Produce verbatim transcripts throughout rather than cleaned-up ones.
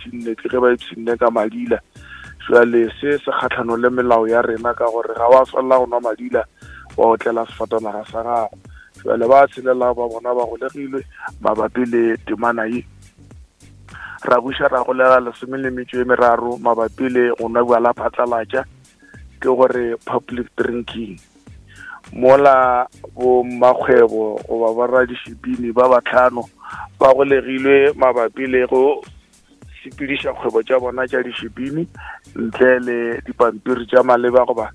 ipshinne ke ge ba ipshinne ka madila. Jwale se se kgatlhano le melao ya rena ka gore ga wa swanela go nwa madila wa otlela sefatanaga sa gago. Jwale ba tshelela ba bona ba golegilwe mabapi le temana ye. Ra buša ra golega lesome le metšo e meraro mabapi le go nwa bjala phatlalatša, ke gore public drinking. Mola bo mmakgwebo goba boradišipini ba batlhano ba golegilwe mabapi le go sepediša kgwebo tša bona tša dišipini ntle le dipampiri tša maleba goba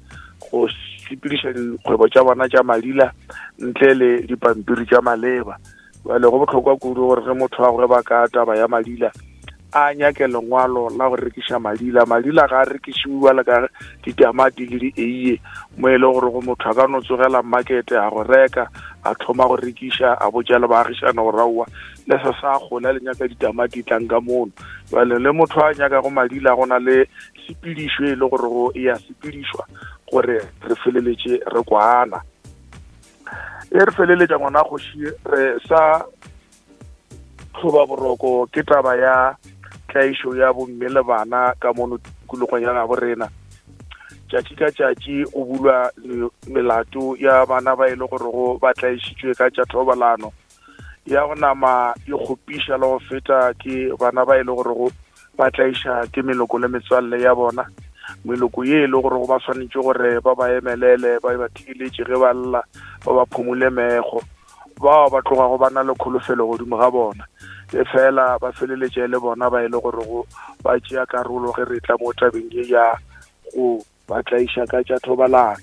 go sepediša dikgwebo tša bona tša madila ntle le dipampiri tša maleba. Bjale go bohlokwa kudu gore ge motho a gweba ka taba ya madila a nyake lengwalo la go rekiša madila. Madila ga a rekišiwe bjalo ka ditamati le dieiye, mo e le gore go motho a ka no tsogela market a go reka a thoma go rekiša a botša le baagišane gore aowa le se sa gola le nyaka ditamati tlang ka mono. Bjale le motho a nyakago madila go na le sepedišo e le gore go e a sepedišwa gore re feleletše re kwana. E re feleletša ngwana kgoši re sa tlhoba boroko ke taba ya tlaišo ya bomme le bana ka mono tikologong ya gabo rena. Tšatši ka tšatši go bulwa melato ya bana ba e le gore go ba tlaišitšwe ka tša thobalano ya go nama e kgopiša le go feta ke bana ba e le gore go ba tlaiša ke meloko le metswalle ya bona, meloko ye e le gore go ba swanetše gore ba ba emelele ba ba theeletše ge ba lla ba ba phumule mekgo, bao ba tlogago ba na le kholofelo godimo ga bona, e fela ba feleletše le bona ba e le gore go ba tšea karolo ge re tla mo tabeng ye ya go ba tlaiša ka tša thobalano.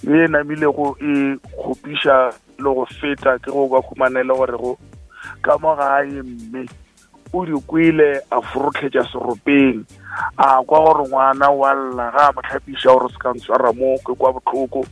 Ye namilego e kgopiša le go feta ke go ba humanele gore go ka mo gae mme o di kwele a forotlhetša seropeng a kwa gore ngwana wa lla ga a mo tlhapiša gore se ka ntshwara mo ke kwa bohloko,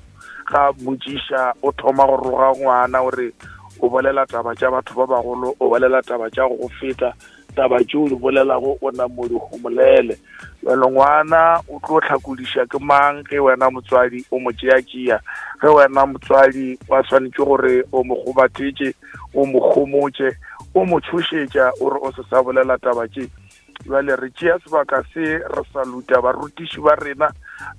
ga motšiša o thoma go roga ngwana gore o bolela taba tša batho ba bagolo, o bolela taba tša go feta taba tšeo di bolelago o na mo di homolele. Jwale ngwana o tlo hlakodiša ke mang ge wena motswadi o mo tšea-tšea, ge wena motswadi wa swanetše gore o mo gobathetše o mo homotše o mo tšhošetša o re o se sa bolela taba tše. Jwale re tšea sebaka se re saluta barutiši ba rena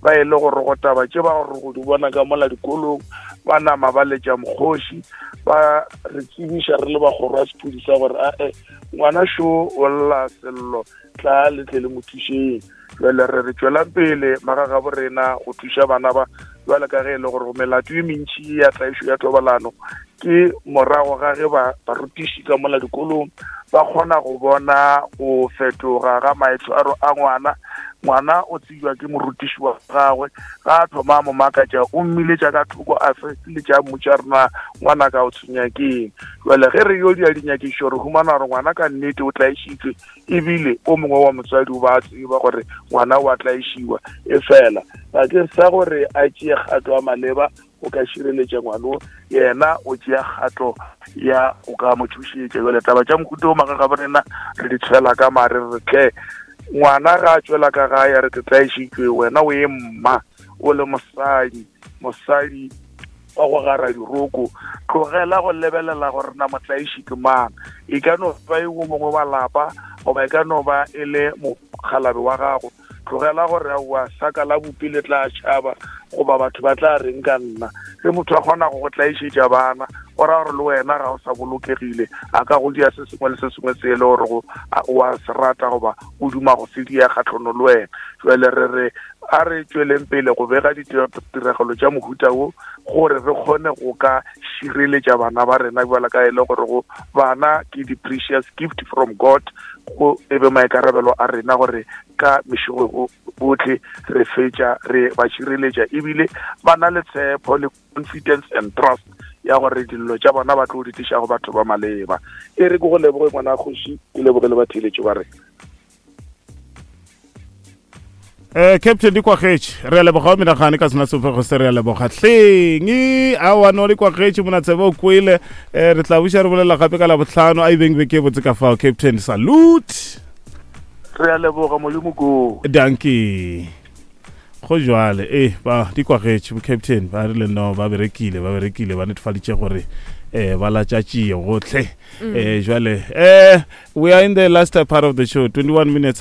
ba e le gore go taba tše ba gore go di bona ka mola dikolong ba nama ba letša mokgoši ba re tsebiša re le ba kgoro ya sephodisa gore ae ngwana šo o lla sello tla le tle le mo thušeng. Jwale re re tšwelang pele magagabo rena go thuša bana ba bjale ka ge e le gore melato e mentši ya tlaišo ya thobalano ke morago ga ge ba barutiši ka mola dikolong ba kgona go bona go fetoga ga maitshwaro a ngwana. Ngwana o tsejwa ke morutiši wa gagwe ga a thoma mo makatša o mmiletša ka thoko a feleletša a mmotša rena ngwana ka o tshwenya keng. Jwale ge re yo dia dinyakišo re humana gore ngwana ka nnete o tlaišitšwe ebile o mongwe wa motswadi o ba tseba gore ngwana o a tlaišiwa, e fela bakeng sa gore a tšee kgato ya maleba o ka šireletša ngwano yena o tšea kgato ya o ka mo thušetša. Jwale taba tša mohuta o magagabo rena re di tshwela ka mare re tle ngwana ga a tšwela ka gae a re ke tlaišitšwe, wena o e mma o le mosadi, mosadi wa go gara diroko, tlogela go lebelela gore na motlaiši ke mang, e ka no ba e o mongwe wa lapa goba e ka no ba e le mokgalabe wa gago. Tlogela gore aowa saka la bopi le tla tšhaba goba batho ba tla reng ka nna. Ge motho a kgona go go tlaišetša bana go raya gore le wena ga o sa bolokegile, a ka go dia se sengwe le se sengwe se e le gore o a se rata goba o duma go se dia kgatlhano le wena. Jwale re re a re tšweleng pele go bega ditiragalo tša mohuta wo gore re kgone go ka šireletša bana ba rena bjalo ka e le gore go bana ke di-precious gift from God, go e be maikarabelo a rena gore ka mešego botlhe re fetša re ba šireletša ebile ba na le tshepo le confidence and trust ya gore dillo tša bona ba tlo di tliša go batho ba maleba. E re ke go leboge ngwana kgoši, ke leboge le batheeletši ba rena. Eh Captain di kwagetše re a leboga o menagane ka sena sefego se re a leboga hleng aowa no di kwagetše mona tsebe o kwele. Eh re tla buša re bolela gape ka labohlano a ibeng beke botse ka fao. Captain salute, re a leboga Modimo ko dankie. Go jwale eh ba di kwagetše bo Captain ba rile no ba berekile ba berekile ba netefaditše gore eh ba latšatšie gotlhe. Eh jwale eh we are in the last part of the show, twenty-one minutes after